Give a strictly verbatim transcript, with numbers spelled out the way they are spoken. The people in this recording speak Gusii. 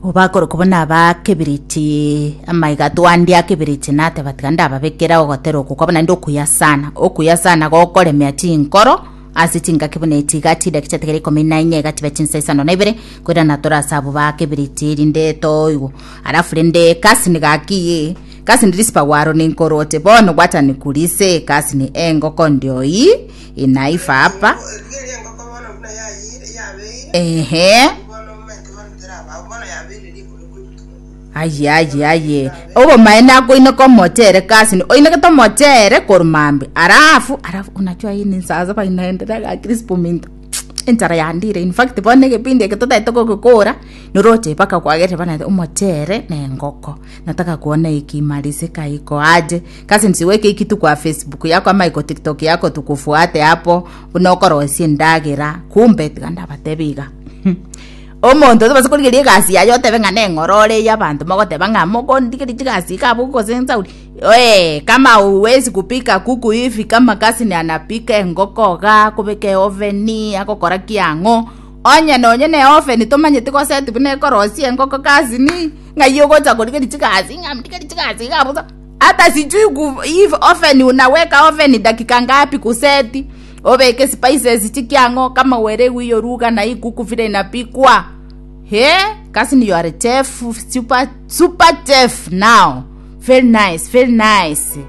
Obakorokwa buna bakebiriti amaiga twandia kebiriti nateba tiga ndababekera ogotera oko kwabo naende okuya sana okuya sana gokoremea chinkoro ase chingaki buna echi iga chidaki chiatigere ikomi na inye iga chibe chinsa isano na ibere koirana tore ase abwo bakebiriti rinde toigwa alafu rinde kasini gaki kasini risipagwaro ninkoroche bono wacha nikurise kasini engoko ndio hii inaiva hapa. Rigereria engoko bono buna yayire yabeire. Ehe. Bono omanyete bono teraba bono yabeire rikoro korituma. Aye aye aye obomaene akoineka omochere kasini oinekete omochere korwa mambi alafu alafu unajua hii ni saa saba inaendelea gaki risipo minto enchara yandire. In fact, bono egepindi eke totaete gogekora noroche mpaka kwagerire bana omochere na engoko nataka kuona ikimalizika iko aje. Kasi nsiweke ikitu kwa Facebook yako ama iko TikTok yako tukufuate hapo buna okorosia endagera. Kumbe tiga ndabatebi iga omonto tobase korigeria egasi yaye otebe ng'a neng'orore ya abanto mogoteba ng'a mokondigeria chigasi iga abwo gose nsauri. Oe, kama uwezi kupika kuku hivi kama kasini anapika engoko iga akobeka eoven agokora kiang'o onye nonye na eoven tomanyeti goseti buna ekorosia engoko kasini ng'ai ogocha korigeria chigasi ng'a ndigeria chigasi iga abwo hata sijui ku if oven unaweka oven dakika ngapi kuseti obeke spices chikiang'o kama uelewi hiyo lugha na hii kuku vile inapikwa. He, kasini, you are a chef, super super chef now. Very nice, very nice.